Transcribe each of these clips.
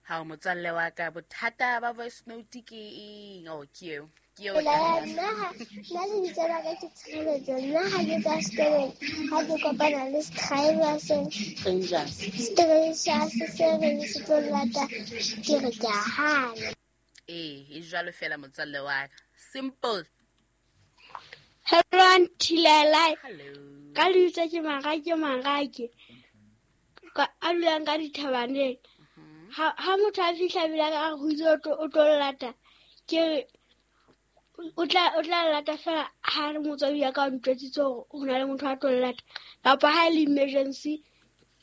Ga o motswalle wa ka, bothata ba voice note ke eng? O ke eo, ke eo. Nna lebitso la ka ke Tshireletso. Nna ha ke tswa sekolong, ha ke kopana le driver se stranger se reng se tlo lata, ke re ke a hana. Ee, e jalo fela, motswalle wa ka, simple. Hello, Aunty Lelai. Ka lebitso ke Marake, Marake a dulang ka dithabaneng. Ha motho a fihla bile ka re ho itse o tlo lata, ke re o tla lata fela ha re motswadi ya ka o ntjwetsitse hore ho na le motho a tlo lata, kapa ha e le emergency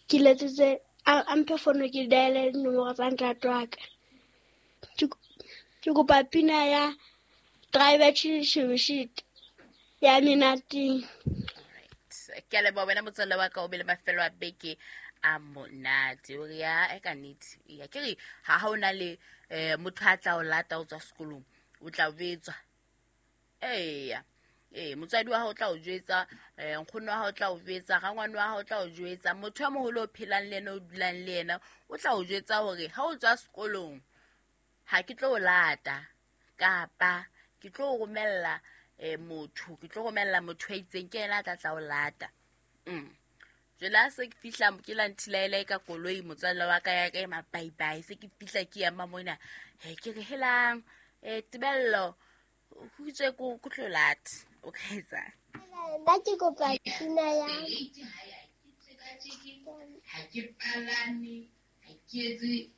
ke letsetse a mphe fono, ke diale dinomoro tsa ntate wa ka. Ke kopa pina ya Driver Shibishit ya Menateng. Ke a leboha wena, motswalle wa ka, o be le mafelo a beke a monate. O re ya e ka nnete ya ke re ha o na le motho a tla o lata o tswa sekolong, o tla betswa. Eya, ee, motswadi wa hao o tla o jwetsa, nkgono wa hao o tla o jwetsa, rangwane wa hao o tla o jwetsa, motho ya moholo o phelang le ena, o dulang le ena, o tla o jwetsa hore ha o tswa sekolong ha ke tlo o lata, kapa ke tlo o romella motho, ke tlo romella motho a itseng, ke yena a tla tla o lata. Jwale ha se ke fihla ke la nthilaela ka koloi, motswalle wa ka ya ka e mabaibai, se ke fihla ke ema mona, he, ke re helang, Tebello ho itswe ko tlo lata, o ka etsang? Nna ke kopa pina ya Ha ke palame, ha ke etse.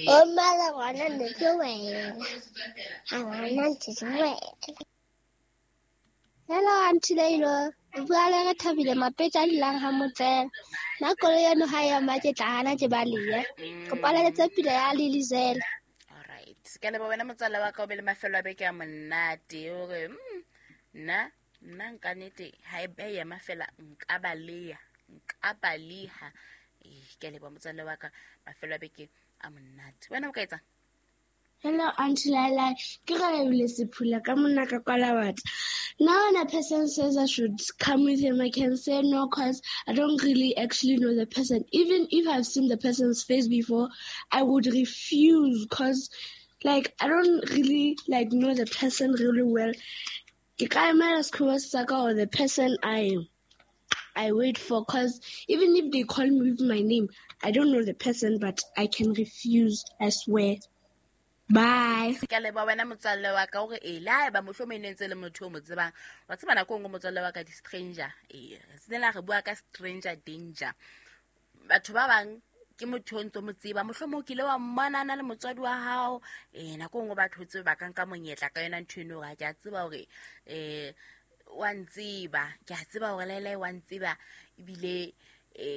O mala ngwana ne ke wena, ha ngwana ntse ke wena. Hello, Aunty Leilo. O bua le Re Thabile Mapetja a dulang ha Motsela. Nna koloi eno ha e ema ke tla hana, ke balehe. Kopa leletse pina ya Lilizela. Alright, ke leboha wena, motswalle wa ka, o be le mafelo a beke a monate. O re nna nka nete ha e be ema fela nka baleha, nka baleha. Ee, ke a leboha, motswalle wa ka, mafelo a beke a monate. Wena o ka etsang? Hello, Aunty Laila. Ke Relebile Sephula ka monna ka Kwalawata. Now when a person says I should come with him, I can say no because I don't really actually know the person. Even if I've seen the person's face before, I would refuse because, like, I don't really, like, know the person really well. Ke ka emela sekgowa sa ka or the person I wait for, because even if they call me with my name, I don't know the person, but I can refuse, I swear. Bye. Ke a leboha wena, motswalle wa ka. Ore ee, le haeba mohlomong e ne ntse le motho o mo tsebang, wa tseba nako e nngwe, motswalle wa ka, di-stranger, ee, re senela re bua ka stranger danger. Batho ba bang ke motho o ntso mo tseba, mohlomong o kile wa mmonana le motswadi wa hao. Ee, nako e nngwe batho o tsebe ba ka nka monyetla ka yona ntho eno, hore ha ke a tseba hore wa ntseba, ke a tseba hore laelae wa ntseba, ebile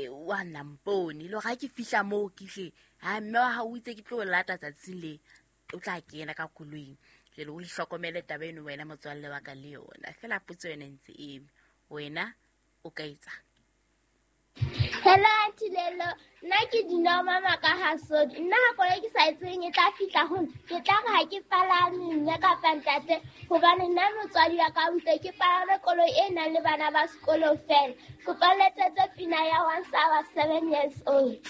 wa nampone le hore ha ke fihla moo ke hle ha mme wa hao o itse ke tlo o lata tsatsing le, o tla kena ka koloing. Jale o ihlokomele taba eno wena, motswalle wa ka, le yona fela potso yona ntse eme, wena o ka etsang? Hello, Aunty Lelo. Nna ke Dinao Mama ka Hasodi. Nna ha koloi ke sa e tsebeng e tla fihla ho nna, ke tla re ha ke palame mme kapa ntate, hobane nna motswadi wa ka o itse ke palame koloi e nang le bana ba sekolo fela. Kopa letsetse pina ya Once I Was 7 Years Old.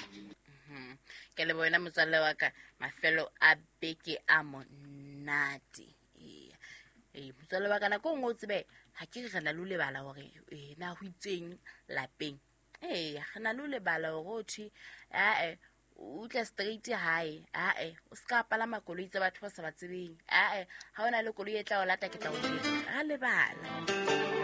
Ke le wena, motswalle wa ka, mafelo a beke a monate. Ee, motswalle wa ka, nako e nngwe o tsebe ha ke re re na le ho lebala hore na ho itseng lapeng. Ee, re na le ho lebala hore o thwe ae o tla straight hae, ae o se ka palama koloi tsa batho ba sa ba tsebeng, ae ha o na le koloi e tla o lata, ke tla o jwetsa. Ra lebala.